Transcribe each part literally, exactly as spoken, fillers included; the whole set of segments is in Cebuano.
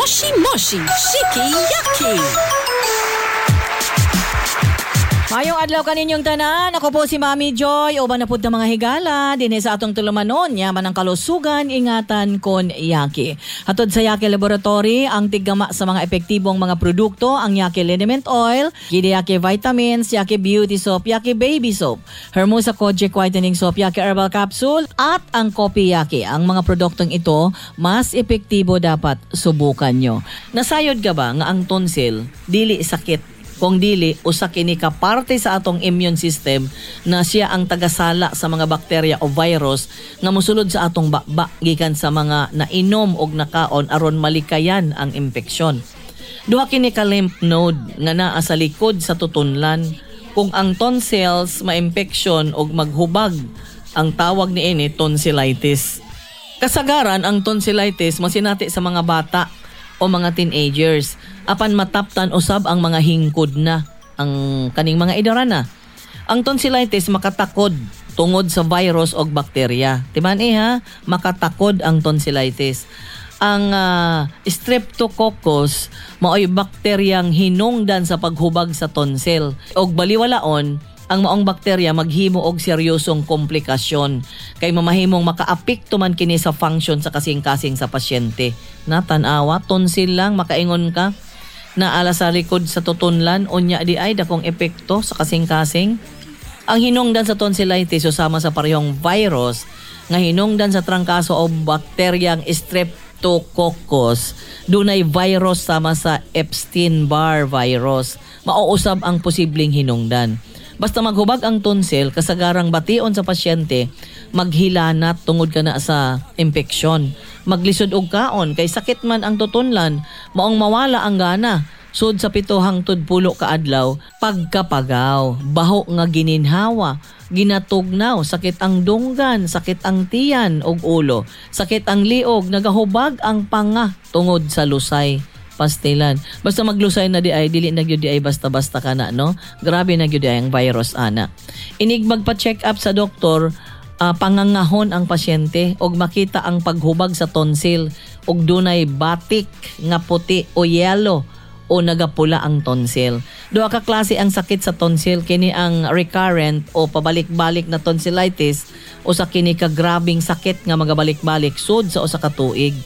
Moshi Moshi Shiki Yaki. Mayong adlaw kaninyong tanan. Ako po si Mami Joy. Uban na pud ta, mga higala dinhi sa atong tulumanon. Yaman ang kalusugan, ingatan kon Yaki. Hatod sa Yaki Laboratory, ang tiggama sa mga epektibong mga produkto, ang Yaki Liniment Oil, Gidi Yaki Vitamins, Yaki Beauty Soap, Yaki Baby Soap, Hermosa Kojic Whitening Soap, Yaki Herbal Capsule, at ang Kopi Yaki. Ang mga produktong ito, mas epektibo, dapat subukan nyo. Nasayod ka ba nga ang tonsil, dili sakit kung dili usa kini ka parte sa atong immune system na siya ang tagasala sa mga bakterya o virus nga mosulod sa atong baba gikan sa mga nainom og nakaon aron malikayan ang impeksyon? Duha kini ka lymph node nga naa sa likod sa tutunlan. Kung ang tonsils maimpeksyon og maghubag, ang tawag niini tonsillitis. Kasagaran, ang tonsillitis masinati sa mga bata o mga teenagers. Apan mataptan usab ang mga hingkod na ang kaning mga idaran na. Ang tonsillitis makatakod tungod sa virus og bakterya. Timan eh ha, makatakod ang tonsillitis. Ang ah, Streptococcus maoy bakteryang hinungdan sa paghubag sa tonsil. Og baliwalaon, ang maong bakterya maghimo og seryosong komplikasyon kay mamahimong makaapekto man kini sa function sa kasing-kasing sa pasyente. Na tan-awa, tonsil lang makaingon ka naala sa likod sa tutunlan, unya di ay dakong epekto sa kasing-kasing. Ang hinungdan sa tonsillitis usama sa parehong virus nga hinungdan sa trangkaso o bakteryang Streptococcus. Dunay virus sama sa Epstein-Barr virus. Mauusab ang posibleng hinungdan. Basta maghubag ang tonsil, kasagarang bation sa pasyente, maghilanat tungod kana sa impeksyon. Maglisod og kaon kay sakit man ang tutunlan, maong mawala ang gana. Sud sa pito hangtod pulo ka adlaw, pagkapagaw, baho nga gininhawa, ginatugnaw, sakit ang dunggan, sakit ang tiyan ug ulo, sakit ang liog, nagahubag ang panga tungod sa lusay. Pastilan. Basta maglusay na di ay, dili na gyud di ay basta-basta ka na, no? Grabe na gyud di ay ang virus ana. Inig magpa-check up sa doktor, ah, pangangahon ang pasyente og makita ang paghubag sa tonsil og dunay batik nga puti o yellow o nagapula ang tonsil. Duha ka klase ang sakit sa tonsil, kini ang recurrent o pabalik-balik na tonsillitis o sa kini ka grabing sakit nga magabalik-balik sud sa usa ka tuig.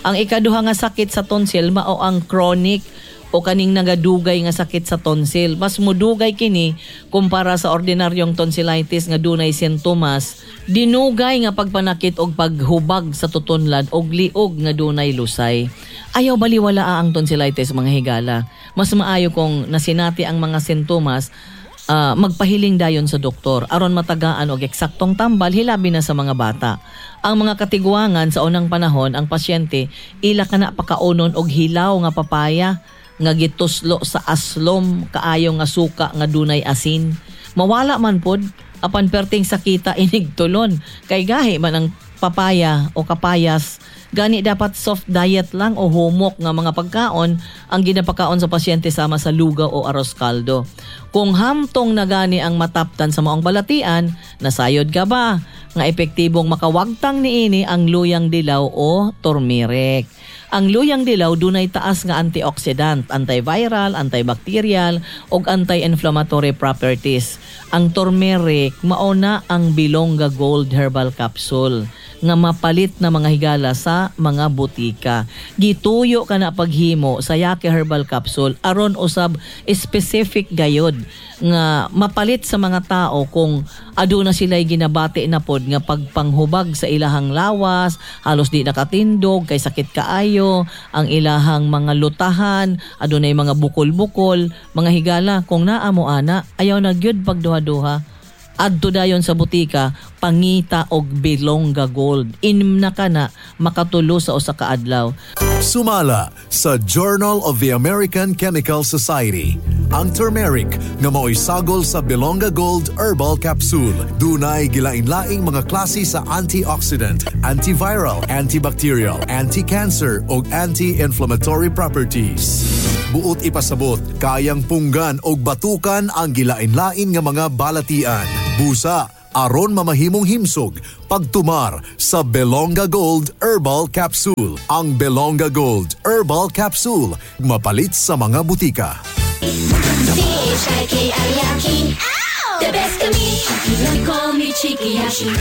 Ang ikaduha nga sakit sa tonsil mao ang chronic o kaning nagadugay nga sakit sa tonsil. Mas mudugay kini kumpara sa ordinaryong tonsillitis nga dunay sintomas, dinugay nga pagpanakit og paghubag sa tutunlan og liog nga dunay lusay. Ayaw baliwala ang tonsillitis, mga higala. Mas maayo kung nasinati ang mga sintomas, ah, magpahiling dayon sa doktor aron matagaan og eksaktong tambal, hilabi na sa mga bata. Ang mga katiguangan sa unang panahon, ang pasyente ila kana pakaunon og hilaw nga papaya nga gituslo sa aslom kaayo nga suka nga dunay asin. Mawala man pod, apan perting sakita inig tulon kay gahi man ang papaya o kapayas. Gani dapat soft diet lang o humok nga mga pagkaon ang ginapakaon sa pasyente sama sa lugaw o aros kaldo. Kung hamtong na gani ang mataptan sa maong balatian, nasayod ka ba nga epektibong makawagtang niini ang luyang dilaw o turmeric? Ang luyang dilaw dunay taas nga antioxidant, antiviral, antibacterial ug anti-inflammatory properties. Ang turmeric mao na ang Bilongga Gold Herbal Capsule nga mapalit na, mga higala, sa mga butika. Gituyo ka na paghimo sa Yaki Herbal Capsule aron usab specific gayod nga mapalit sa mga tao kung aduna sila'y ginabati na pod nga pagpanghubag sa ilahang lawas, halos di nakatindog kay sakit kaayo, ang ilahang mga lutahan, adunay mga bukol-bukol, mga higala, kung naa mo ana, ayaw na gyud pagduha-duha. Adto dayon sa butika, pangita og Bilongga Gold. Inom na ka na, makatulo sa usa ka adlaw. Sumala sa Journal of the American Chemical Society, ang turmeric nga mao'y sagol sa Bilongga Gold Herbal Capsule dunay gilain-laing mga klase sa antioxidant, antiviral, antibacterial, anti-cancer ug anti-inflammatory properties. Buot ipasabot, kayang punggan og batukan ang gilain-lain nga mga balatian, busa, Aron mamahimong himsog pagtumar sa Belonga Gold Herbal Capsule. Ang Belonga Gold Herbal Capsule mapalit sa mga butika. C H I K I Yaki. The best kami. Call me Chikiyashi.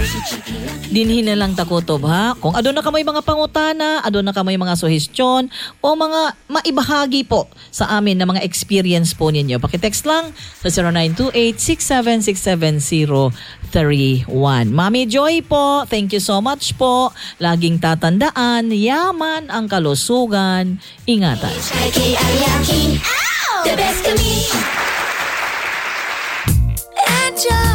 Dinhi na lang takutob, ha. Kung aduna kamoy mga pangutana, aduna kamoy mga suhestyon o mga maibahagi po sa amin na mga experience po ninyo, paki-text lang sa zero nine two eight, six seven six seven zero three one. Mami Joy po, thank you so much po. Laging tatandaan, yaman ang kalusugan. Ingatan. C H I K I Yaki. The best kami. Enjoy.